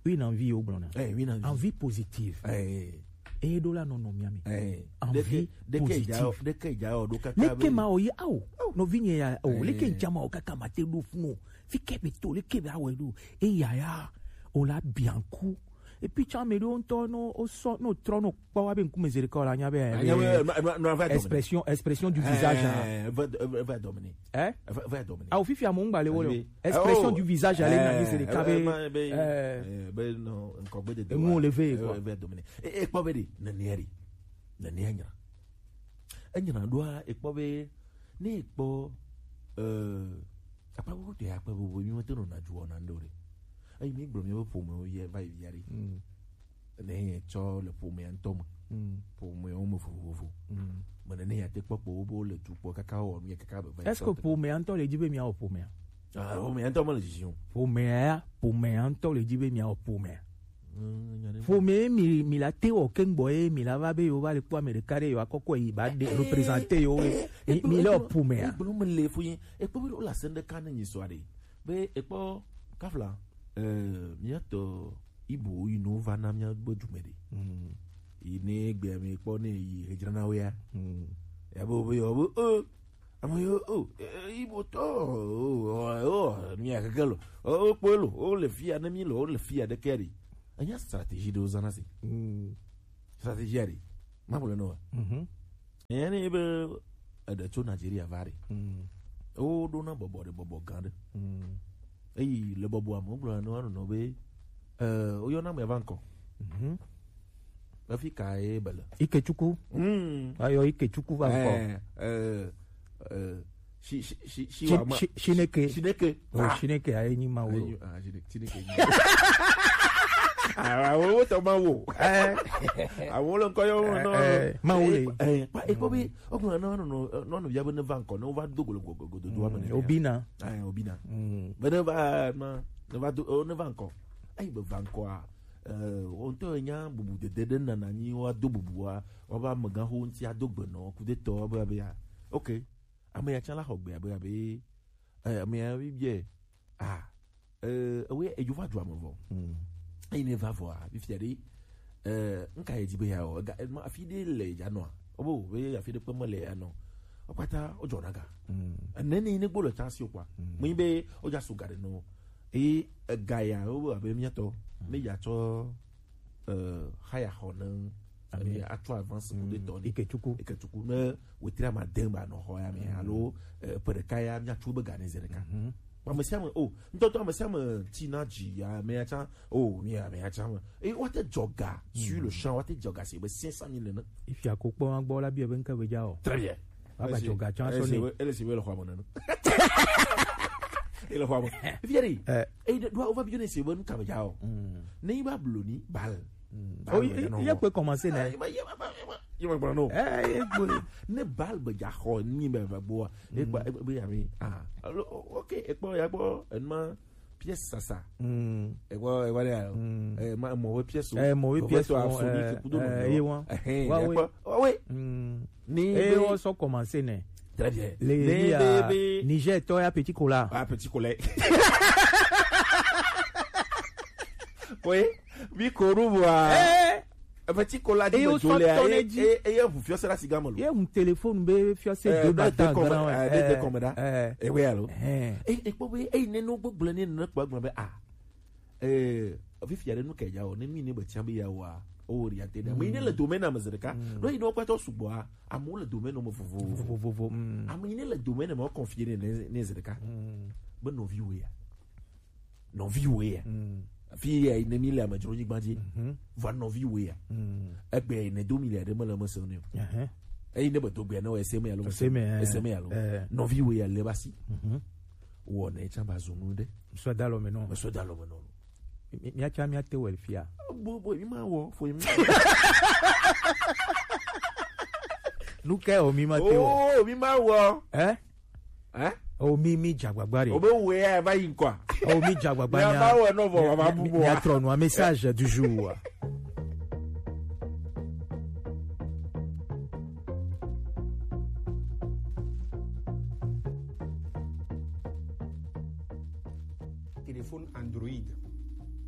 une envie o gblɔna. Eh, une envie. Envie positive. Eh. E do la nɔnɔ mia mi. Eh. Envie positive. Deke ja o do kaka. Leke ma o ye awo. Nɔvi nye ya o. Leke ja ma o kaka ma te do funu. Fi ke be to, leke be awo do. E ya ya. O la bianku. Et puis, tu as mis longtemps, non, au son, non, trop, non, pas avec un coup, mais c'est le corps, là, il y avait, euh, expression, expression du visage, hein. Va, va, va dominer. Hein? Va, va dominer. Ah, au fifi, à mon balai, voilà. Expression du visage, allez, c'est le cas, euh, ben, non, encore, ben, de nous, on le fait, quoi. Va dominer. Et, et, pas, ben, nanieri. Nanieri. Enyina ɖoa, ekpɔ be, ne ekpɔ, eh, akpa gbogbo tɔe, akpa gbogbo mi mete nɔna dzuwɔ na ŋɖewo ɖe. Eyi mi gblɔ miabe ƒomewo yɛ va yi via ɖe. Ne yɛ tsɔ le ƒomea ŋutɔ me. Ƒomewo me vovovo. Me ne, ne ya te kpɔ kpɔ wo be wo le du kpɔ kaka wɔ nu yɛ kaka be va yi. Est-ce que ƒomea ŋutɔ le dzi be miawɔ ƒomea? Ah, ƒomea ŋutɔ mele dzidzim o. Ƒomea, ƒomea ŋutɔ le dzi be miawɔ ƒomea. Ƒome mi, mi la te wɔ ke gbɔ ye mi la va be yo va le kpɔ ame ɖeka ɖe yo akɔkɔ yi ba de représenter yo ye. Mi, mi le ƒomea. Egblɔ me le ƒo ye. Ekpɔ be wo la se ɖeka ne nyi sɔ aɖe. Be ekpɔ kafla, eh, miatɔ ibo yi no va na mia gbe dume ɖe. Yi ne gbe mi kpɔ ne yi hedzrana wo ya. Ya be wo be yo be, eh, Ame yo, o, e, ibo tɔ, o, o, o, mi akeke lo. O, o, kpɔe lo, o le fia ne mi lo, o le fia ɖe ke ɖi. Enya stratégie ɖewo zãna si. Mm. Stratégie aɖe. Ma ƒo le nɔ wa. Mhm. Enya ne be eɖe tso Nigeria va ɖe. Mm. Wo ɖo na bɔbɔ ɖe, bɔbɔ gã ɖe. Mm. Eyi le bɔbɔa me, wogblɔ na wo nɔnɔ be, eh, woyɔna ame va ŋkɔ. Mhm. Efi ka ye bele? Ikechukwu. Mm. Ayɔ Ikechukwu va ŋkɔ. Eh, eh, eh, shi, shi, shi, shi, wa ma, shi, Shineke. Shineke. Oh, ah. Shineke aye nyi ma wo. Aye nyi, ah, Shineke, Shineke nyi. Ah, wo, wo tɔ ma wo. Eh. Awo le ŋkɔ yɔ wo nɔ. Eh, eh, ma wo le. Eh, eh, pa, e ko bi, o ko na, no, no, no, no, ya be ne va ŋkɔ, ne wo va do golo, go, go, go, do, do, ame ne ya. Obina. Eh, Obina. Mm. Be ne va, ma, ne va do, o, ne va ŋkɔ. Eyi be va ŋkɔa, eh, wo ŋutɔ nya bubu dede ɖe nana nyi woado bubua, wobe amegãxo ŋuti ado gbe nɔ kudetɔ be, be ya. Ok. Ame ya tsã la xɔ gbea be, abe, eh, ame ya bi biɛ, ah, eh, ewe edzo va dua me vɔ. Mm. Eyi ne va vɔa, fifia ɖe, eh, nka ye dzi be ya o, ega, ema afi ɖe le ya nɔa? Obo, be afi ɖe kpe me le ya nɔ. Wo kpata wo dzɔna ga. Mm. Ene ne yi ne gbo le tsa si o kpɔa. Mm. Me yi be wo dza so ga ɖe nɔ. Eye ega ya, wo be abe miatɔ, mm, ne ya tsɔ, eh, haya xɔ ne, ami atsɔ avance ku de tɔ ne. Ikechukwu. Ikechukwu ne wetri ama de ba nɔ xɔ ya me, mm, alo, eh, ƒe ɖeka ya miatsu be ga ne zi ɖeka. Mhm. Ame sia ame, o, ŋutɔtɔ ame sia ame ti na dzi ya, ame ya tsã, o, mi ya, ame ya tsã me. Eye woate dzɔ ga sur le champ, woate dzɔ ga se be cinq cent mille nene. Ifia ko kpɔ ma gbɔ la bi ebe ŋke be dza o. Très bien. Aba dzɔ ga tsã sɔ ne. Ele si be le xɔ me nene. Ele xɔ me. Fifia ɖe. Eh. Eye ɖe, ɖo, wova bi ne se be nu ka be dza o. Mm. Ne yi ba blo ni, bal. Mm. Bal. Oh, ye, ye kpe commencer ne. Ah, ye ma, ye ma, ye ma, ye ma gblɔ no. Eh, ye gblɔ. Ne bal be dza xɔ ni be, be gboa. E gba, e be ya mi. Ah. Alo, o-, ok, e kpɔ, ya kpɔ, enuma pièce sasa. Mm. E kpɔ, e kpɔ ya. Mm. Eh, ma, mɔ be pièce o. Eh, mɔ be pièce o, eh, eh, ye wa. Eh, wa, ya kpɔ. Wa we. Mm. Ni e be wo sɔ commencer ne. Très bien. Le, ni ya be, be Niger tɔ ya Petit Cola. Ah, Petit Cola. Oui. Bi ko ru wa. Eh. Petit Cola di me jole a. Eye, eye ʋu fiɔse la siga me lo. Ye ŋu téléphone be fiɔse de bata grand, eh, de, de kɔme da. Eh. E we alo. Eh. E, e kpɔ be, e ne no gbegblẽ ne ne kpɔ gblẽ be, ah. Eh, fifia ɖe nu ke dza o, ne mi ne be tia be ya wa, o ri ate ɖe. Ame yi ne le domaine me zi ɖeka. Mm. Ɖo yi ne wo kpata sugbɔa, amewo le domaine me vovo. Vovo, vovo, mm. Ame yi ne le domaine me wo confier ne, ne, ne zi ɖeka. Mm. Be nɔviwo ya. Nɔviwo ya. Mm. Fi ya ne mi le amedzronyigba dzi. Mhm. Va nɔviwo ya. Mm. Egbe ne do mi le ɖe me le me se ne o. Ehe. Eyi ne be do gbe ne o ese me alo. Ese me, eh. Ese me alo. Eh. Nɔviwo ya le basi. Mhm. Wɔ ne tsa ba zunu ɖe. Ŋsɔ da lɔ me nɔ. Ŋsɔ da lɔ me nɔ. Mi, mi, miatsa miate wɔe fia. Bo, bo, mi ma wɔ, fo mi. Nu ke o mi ma te wɔ. Oh, mi ma wɔ. Eh? Eh? O mi, mi dza agbagba ɖe. O be wɔ ya va yi ŋkɔa? O mi dza agbagba nya. Ya ba wɔ nɔ vɔ, wa ba bu bɔ. Mia trɔ nua, message du jour. Téléphone Android.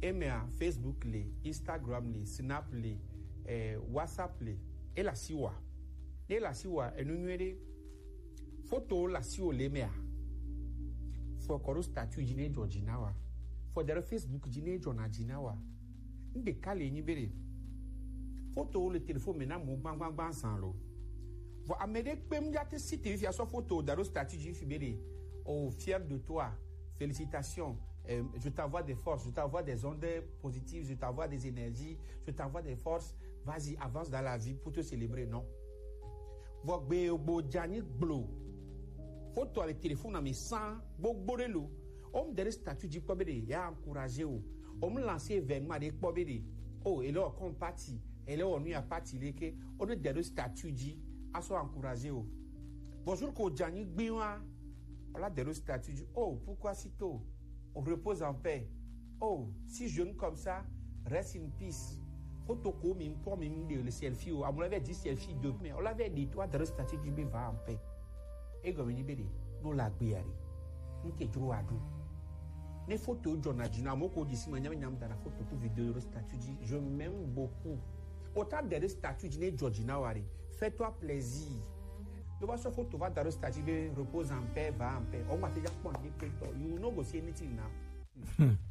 Emea, Facebook le, Instagram le, Snap le, eh, WhatsApp le. E le asiwòa. Ne e le asiwòa, enu nyuie ɖe. Foto le asiwò le emea. Fɔ kɔ ɖo statut dzi ne edzɔ dzi na wòa. Fɔ da ɖe Facebook dzi ne edzɔna dzi na wòa. Nu ɖeka le nyi be ɖe, fotowo le telefon me na amewo gbagbagba zan lo. Vɔ ame ɖe kpem ya te si te fia sɔ foto da ɖo statut dzi fi be ɖe, oh, fier de toi, félicitations, euh, je t'envoie des forces, je t'envoie des ondes positives, je t'envoie des énergies, je t'envoie des forces, vas-y, avance dans la vie pour te célébrer, non. Vɔ gbe gbo dza nyi gblo. Foto le telefon me san gbogbo ɖe lo. O mu de ɖe statut dzi kpɔ be ɖe ya encourager o. O mu lancer événement ɖe kpɔ be ɖe, oh, ele wɔ comme party, ele wɔ nu ya party le ke. O ne de ɖo statut dzi, a sɔ encourager o. Bonjour ko dza nyi gbi wa. O la de ɖo statut dzi. Oh, pourquoi si tôt? Repose en paix. Oh, si jeune comme ça, reste in peace. Foto ko mi kpɔ mi de le selfie o. Amewo la vɛ di selfie de, mais o la vɛ di to adresse statut dzi be va en paix. Egɔme nyi be ɖe, no la gbe ya ɖe. Nke dzro wa ɖo. Ne foto dzɔna dzi na, amewo ko dzi si me nyam nyam da na foto ku vidéo ɖo statut dzi. Je m'aime beaucoup. O ta de ɖe statut dzi ne dzɔ dzi na wa ɖe. Fais-toi plaisir. Tó bá sọ photo va da ɖo statut be repose en paix, va en paix. Ọmọ àti ìjà pọ̀ ní pé tọ̀, you no go see anything now.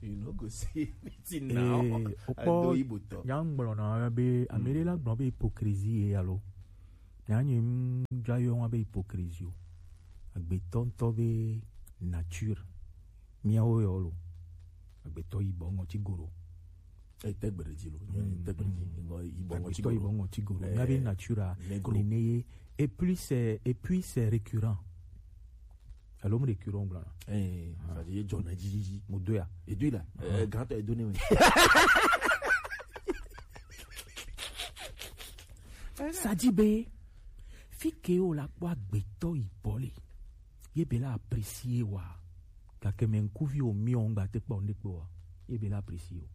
You no go see anything now. Eh, o kpɔ Ado Igbo tɔ. Nya ŋgblɔ na be ame ɖe la gblɔ be hypocrisie ye alo. Nya nye ŋdza yɔ wa be hypocrisie o. Agbetɔ ŋutɔ be nature. Miawo yɔ lo. Agbetɔ yibɔ ŋɔti goro. Eh, tegbe ɖe dzi lo. Mm, tegbe ɖe dzi. Mm. Ŋɔ yibɔ ŋɔti Agbetɔ yibɔ goro. Ŋɔti goro. Eh, Mia be nature a, negro. Nene ye. Et puis c'est, et puis c'est récurrent. Alo mu récurrent gblɔ na. Eh, ça dit, ye dzɔna dzi dzi dzi. Mu do ya. Edo la. Eh, grand edo ne me. Ça dit be, fi ke o la kpɔ agbetɔ yibɔ le. Ye be la apprécier wa. Gake mɛ ŋkuvi o mi o ŋgba te kpɔ ne kpɔ wa. Ye be la apprécier o.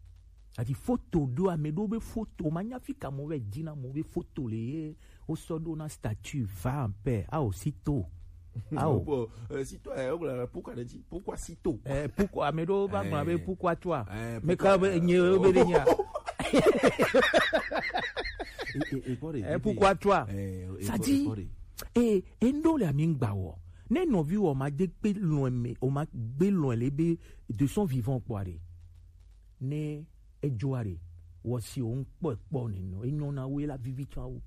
Ati photo ɖo ame ɖo be photo ma nya fi ka mo be dina mo be photo le ye o sɔ ɖo na statut va en paix a o sito. A o. Bon, euh, si toi, euh, pourquoi, pourquoi si tôt? Eh, pourquoi, ame ɖo ba gblɔ be Eh. Pourquoi toi? Eh, Mais pourquoi, quand euh, nye o be de nya. Et, et, et quoi, Eh, et, pourquoi toi? Eh, et Ça quoi, dit, et quoi, et endo le ami ŋgba wɔ. Ne nɔvi wɔ ma de gbe lɔn me, o ma gbe lɔn le be de son vivant kpɔ ɖe. Ne edzo ɖe, wɔ si o ŋkpɔ kpɔ ne nɔ, enyɔ na we la vivi tsɔ awu.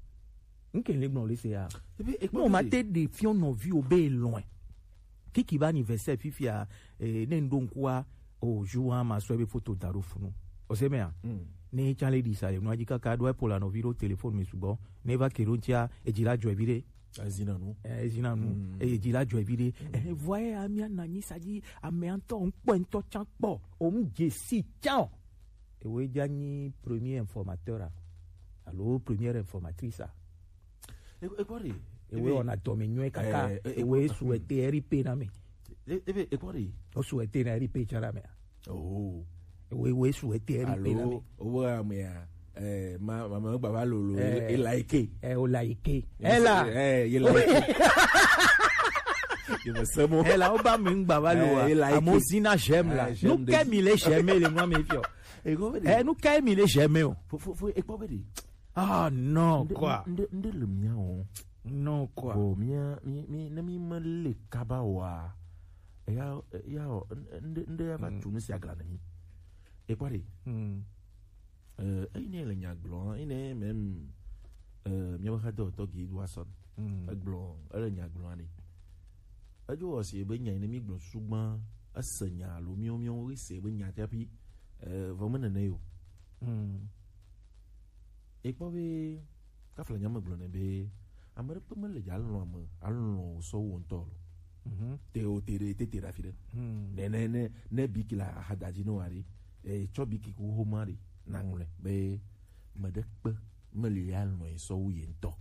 Nke le gblɔ le se ya. Ebe, ekpɔ No, ma be te de fiɔ nɔvi o be lɔn. Kiki ba anniversaire fifia, eh, ne ndo nkua, o jour a ma so ebe photo da ɖo funu. O se me a? Mm. Ne tsa le di sa le, no aji kaka ɖo epo la nɔvi ɖo téléphone me sugbɔ. Ne va ke ɖo ntsia, edzi la dzɔ evi ɖe. Ezina nu. Eh, ezina nu. Mm. Eh, edzi la dzɔ evi ɖe. Mm. Eh, vɔ ye amia na nyi sa dzi, ame ŋutɔ ŋkpɔ ŋutɔ tsã kpɔ. O mu dze si tsã o. Ewoe dza nyi premier informateur a. Alo première informatrice a. E, e kpɔ ɖe. Ewoe wɔna dɔme nyuie kaka. Eh, eh, Ewoe eh, souhaiter R I P na me. E, e, e kpɔ ɖe. O souhaiter na R I P tsã na me a. Oh. Ewoe, ewoe souhaiter R I P na me. Alo, o be amea, eh, ma, ma, ma, gba va lolo, Eh. e, e like. Eh, o like. Ye Ela. Eh, ye like. Ye me se mo. Ela, o ba mi ŋgba va lo Eh, wa. e like. Amo zina j'aime la. Eh, j'aime Nu de ke mi le j'aime le nua mi fiɔ. E go be de. Eh, nu ke mi le j'aime o. Fo, fo, fo, e kpɔ be de. Ah, non, Nde, quoi. nde, nde le mia o. Non, quoi. Bon, mia, mi, mi, ne mi me le kaba wa. E ya, e ya o, n-, nde, nde ya va Mm. tu nu si agla ne mi. E kpɔ ɖe. Mm. Eh, eyi ne le nya gblɔ, eyi ne même, eh, mia be xadɔtɔ gi do asɔ. Mm. Egblɔ, ele nya gblɔ ne. Edzo wɔ si be nya yi ne mi gblɔ sugbã, ese nya alo miwo miwo ese be nya tsapi, eh, vɔ me nene yo. Mm. E kpɔ be, kafla nya me gblɔ ne be, ame ɖe kpe me le dza lɔn ame, alɔn o sɔ wo ŋutɔ lo. Mhm. Te o te ɖe, te te ɖe afi ɖe. Hmm. Ne, ne, ne, ne biki la ahadadzi no ari. E tsɔ biki ku homa ɖe, na ŋlɔe be, me ɖe kpe me li ya lɔn sɔ wu ye ŋutɔ.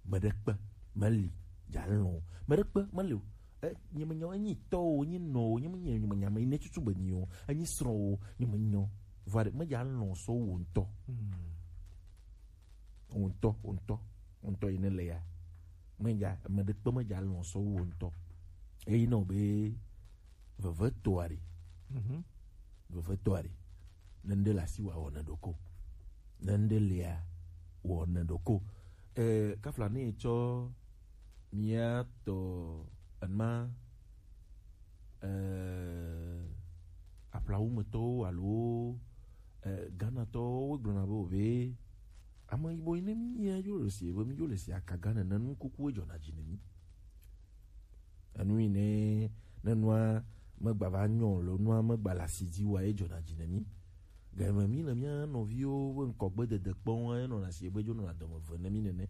Me ɖe kpe me li dza lɔn o. Me ɖe kpe me li o. E, nye me nya, enyi tɔ o, enyi nɔ o, nye me nya, nye me nya me, ne tutu be nyi o, enyi srɔ̃ o, nye me nya o. Vɔ ɖe, me dza lɔn sɔ wo ŋutɔ. Hmm. Wo ŋutɔ, wo ŋutɔ, wo ŋutɔ yi ne le ya. Me dza, me ɖe kpe me dza lɔn sɔ wo ŋutɔ. Eyi nɔ be veve to ari. Mhm. Veve to ari. Ne ŋɖe le asi wa wɔ ne ɖoko. Ne ŋɖe lia wɔ ne ɖoko. Eh, kafla ne tsɔ mia tɔ enma, eh, aƒlawumetɔwo alo, eh, Ghanatɔwo gblɔna be o be ame yibɔ yi ne mi ya yo le si be mi yo le si akaga nene nu kuku edzɔna dzi ne mi. Enu yi ne, ne nua megba va nyɔ o, lo nua megba le asi dzi wa edzɔna dzi ne mi. Game mi le mia nɔviwo be ŋkɔgbe dede kpɔm enɔna si be dzo nɔna dɔme ve ne mi nene.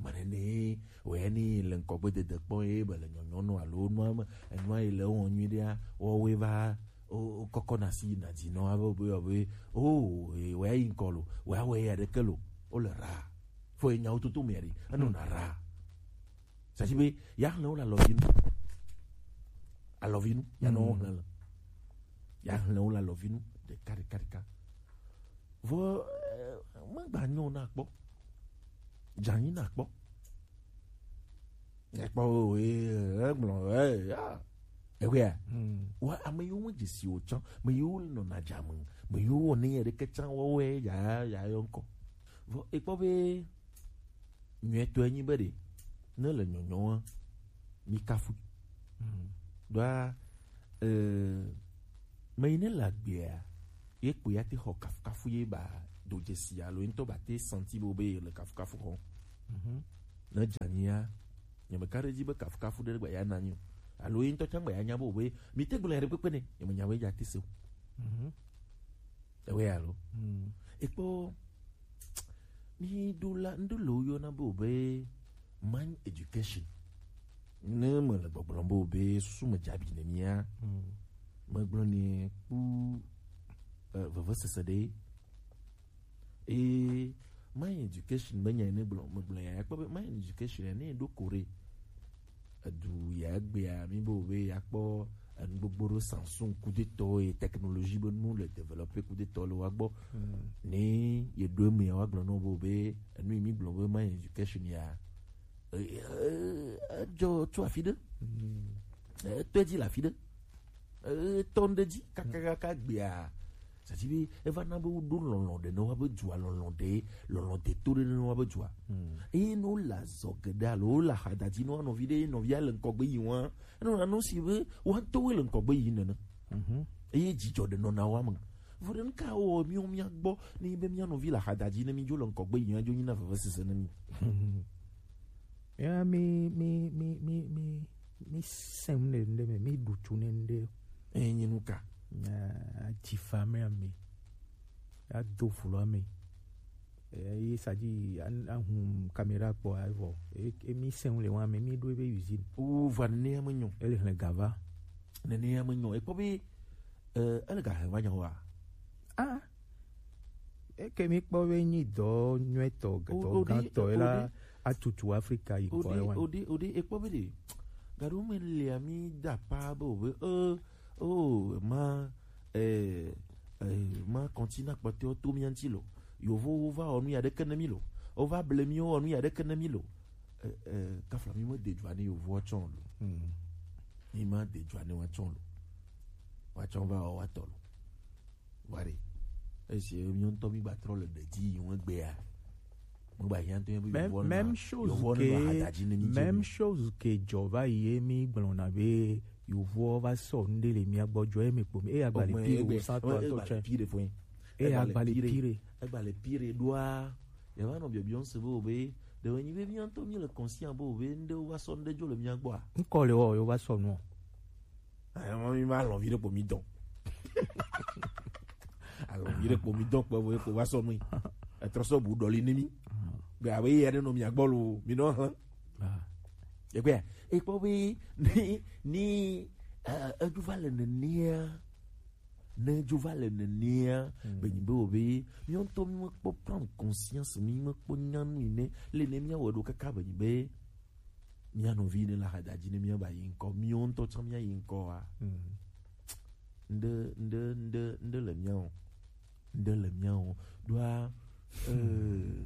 Mane ne wòe ni le ŋkɔgbe dede kpɔ ye be le nyɔnyɔ nɔ alo nua me, enua yi le wɔn nyui ɖea, wɔwoe va, o, o kɔkɔ na si na dzi nɔ abe be, be, o, e, wòe yi ŋkɔ lo, wòe awɔ ya ɖeke lo, o le ra. Fo ye nyawo toto mea ɖi, enɔ na ra. Sasi be, ya hlẽ wo le alɔvi nu. Alɔvi nu, ya nɔ wo hlẽ le. Ya hlẽ wo le alɔvi nu, ɖeka, ɖeka, ɖeka. Vɔ, eh, megba nyɔ na kpɔ. Dzanyi na kpɔ. Ekpɔ o, eh, egblɔ, eh, ya. Ewea. Hmm. Wa ame yiwo me dzesi o tsã, me yiwo nɔ na dza me, me yiwo wɔ ne yɛ ɖeke tsã wɔwɔe ya, ya yɔ ŋkɔ. Vɔ, ekpɔ be nyuietɔe nyi be ɖe Ne le nyɔnyɔa, mi kafu. Ɖoa, eh, me yi ne le agbea, ye kpo ya te xɔ kafukafu ye ba do dzesi alo ye ŋutɔ ba te senti be be le kafukafu xɔ. Ne dzania, nye me ka ɖe dzi be kafukafu ɖe gba ya na nyi o. Alo ye ŋutɔ tsã gba ya nya be be mi te gblɔ ya ɖe kpekpe ne, nye me nya be dza te se o. Ewe alo. Ekpɔ, mi ɖo la, ŋɖo le wo yɔna be be mind education. Ne me le gbɔgblɔm be be susu me dzabi ne mia, me gblɔ ne kpu, eh, vevesese ɖe. Eye mind education be nya ne gblɔ, me gblɔ ya, ekpɔ be mind education ya ne ɖo ko ɖe. Edu ya egbea, mi be wo be ya kpɔ enu gbogbo ɖo Samsung kudetɔ ye technologie be nu le développer kudetɔ le wa gbɔ. Ne ye ɖo eme ya wa gblɔ no be, be enu yi mi gblɔ be mind education ya. Eh, eh, edzɔ tso afi ɖe. Eh, etɔ dzi le afi ɖe. Eh, etɔ ŋɖe dzi kakakaka gbea. C'est-à-dire be eva na be woɖo lɔlɔ̃ ɖe ne wa be dua, lɔlɔ̃ ɖe, lɔlɔ̃ de to ɖe ne wa be dua. Eye ne wole azɔ geɖe alo wole ahadadzi ne wa nɔvi ɖe, nɔvia le ŋkɔgbe yi wa, eno na no si be wa ŋutɔ wo le ŋkɔgbe yi nene. Eye dzidzɔ ɖe nɔna wa me. Vɔ ɖe nuka wɔ mi wo mia gbɔ ne be mia nɔvi le ahadadzi ne mi dzo le ŋkɔgbe yi wa dzo nyi na vevesese ne mi. Ya mi, mi, mi, mi, mi, mi sɛm ne ŋɖe me, mi ɖu tsu ne ŋɖe. Enyi nuka? Ah, dzifa me ame. Ado vlo ame. Eh, ye sa dzi an-, ahun caméra kpɔ avɔ. E, e mi sɛm le wa me, mi ɖo ebe usine. O va ne ame nyɔ. Ele hlẽ gava. Ne ne ame nyɔ. Ekpɔ be, eh, ele ga he va nyɔ wa. Ah. Eke mi kpɔ be nyi dɔ nyuɛtɔ, dɔ gãtɔ la atutu Afrika yi kɔ wa. Ode, ode, ekpɔ be de. Gaɖo me lia mi da pa be o be, eh, oh, ma, eh, eh, ma continent kpɔtɔewo to mia ŋuti lo. Yovowo va wɔ nu ya ɖeke ne mi lo. Wova ble mi wɔ nu ya ɖeke ne mi lo. Eh, eh, kafla mi me de dzoa ne yovowo tsɔ lo. Mi ma de dzoa ne wa tsɔ lo. Wa tsɔ va wɔ wa tɔ lo. Wa ɖe. Esi mi ŋutɔ mi gba trɔ le ɖe dzi yi ŋu egbea. Mo gba hiã to mi. Même, même chose que, même chose que dzɔ va yi ye mi gblɔna be yovowo va sɔ nu ɖe le mia gbɔ dzɔ ye mi kpo mi. E agba le pire o, sa tɔ tɔ tsɛ. E agba le pire. Egba le pire ɖoa. Ye va nɔ biɔbiɔ se be o be ɖe wɔ nyi be mia ŋutɔ mi le conscient be o be ŋɖe wo va sɔ ŋɖe dzo le mia gbɔa? Ŋkɔ le wɔ yo va sɔ nu. Ayɔ mi ma lɔvi ɖe kpo mi dɔn. Alɔvi ɖe kpo mi dɔn kpe vo kpo va sɔ nu. Etrɔ sɔ bu ɖɔli ne mi. Be abe ye ɖe nɔ mia gbɔ lo, mi nɔ hlẽ. Egbea, ekpɔ be ni, ni, eh, edzo va le nenea, ne edzo va le nenea, be nyi be o be mi ŋutɔ mi me kpɔ prendre conscience, mi me kpɔ nya nu yi ne le ne mia wɔ ɖo kaka be nyi be mia nɔvi ne la hada dzi ne mia ba yi ŋkɔ, mi ŋutɔ tsã mia yi ŋkɔ wa. Ŋɖe, ŋɖe, ŋɖe, ŋɖe le mia o. Ŋɖe le mia o. Ɖoa, eh,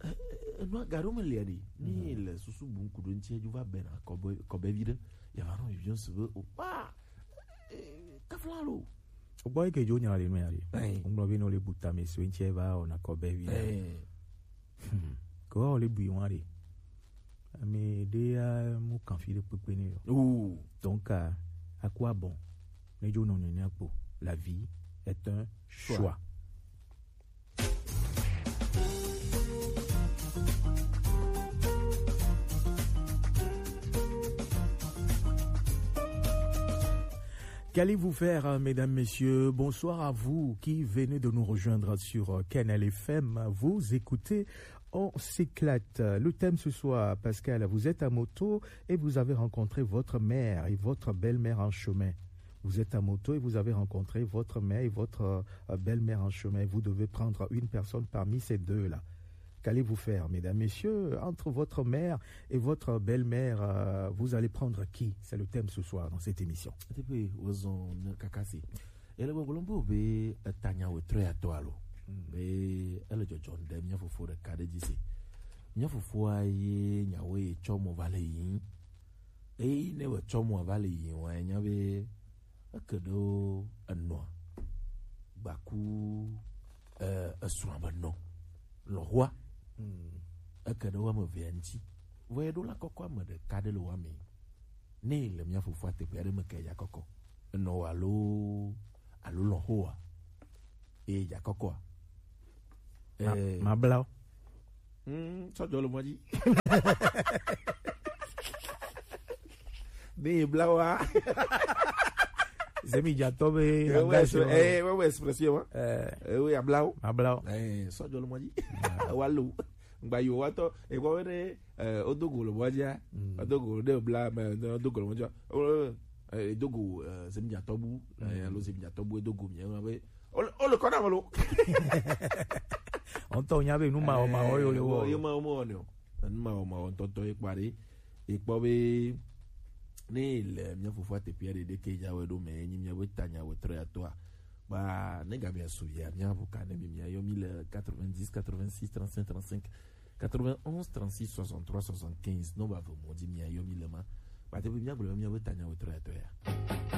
eh, enua gaɖo me lia ɖi. Ni le susu bu ŋku ɖo ŋuti edzo va bena kɔbe, kɔbe vi ɖe. Ya va nɔ vivian se be o pa. Eh, kafla lo. Gbɔ yi ke dzo nya le nu ya ɖi. Ŋgblɔ be no le buta me so ŋuti va o na kɔbe vi ɖe. Ko o le bui wa ɖe. Ame ɖe ya mu kan fi ɖe kpekpe ne yo. Donc, à, à quoi bon? Ne dzo nɔ nene kpo. La vie est un choix. Qu'allez-vous faire, hein, mesdames, messieurs? Bonsoir à vous qui venez de nous rejoindre sur, euh, Kanal F M. Vous écoutez On s'éclate. Le thème ce soir, Pascal, vous êtes à moto et vous avez rencontré votre mère et votre belle-mère en chemin. Vous êtes à moto et vous avez rencontré votre mère et votre, euh, belle-mère en chemin. Vous devez prendre une personne parmi ces deux-là. Qu'allez-vous faire, mesdames, messieurs, entre votre mère et votre belle-mère, euh, vous allez prendre qui? C'est le thème ce soir dans cette émission. Ete pe wozɔn ne kakasi. Ele gbɔgblɔm be be etanya wetrɔ ya tɔ alo. Be ele dzɔdzɔm ɖe mia fofo ɖeka ɖe dzi se. Mia fofoa ye nyawo ye tsɔ mo va le yi. Eyi ne wòtsɔ mo va le yi wa nya be eke ɖo enɔa gbaku, eh, esrɔ̃a be nɔ lɔ̃xoa. Eke ɖe wo ame evea ŋuti. Vɔ eɖo la kɔkɔ ame ɖeka ɖe le wa me. Ne le mia fofo ateƒe aɖe me ke ya kɔkɔ. Enɔ wa alo alo lɔn ho wa. E ya kɔkɔ a. Ma- mabla wo. Mm, sɔjɔ le mɔ dzi. Ne ye bla wa. Zemi dzatɔ be Eh, agba ouais, sɔ. eh, ouais, ouais, expression, hein. Eh, Eh, oui, abla wo. mabla wo. Eh, sɔjɔ le mɔ dzi. Wa lo. Ngba yo wa tɔ. E kɔ be ne eh, o do go le mɔ dzi a. O do go ɖe bla me, o do go le mɔ dzi a. O eh, do go eh, zemi dzatɔ bu. Eh, alo zemi dzatɔ bu e do go mi ma be. O le- o le kɔ na me lo. Ɔntɔ nya be nu ma o ma o yo le wo. Yo ma o ma o ne o. Nu ma o ma o ntɔntɔ ye kpa ɖe. E kpɔ be ne le mia fofo ateƒe aɖe ɖe ke ya wɛ ɖo me nyi mia be tanya wɛ trɔ ya tɔa. Ba ne ga mia su ya mia vo ka ne mi mia yɔ mi le quatre-vingt-dix quatre-vingt-six trente-cinq trente-cinq quatre-vingt-onze trente-six soixante-trois soixante-quinze. Non ba vo mo di mia yɔ mi le ma. Ba te be mia gblɔ mia be tanya wɛ trɔ ya tɔ ya.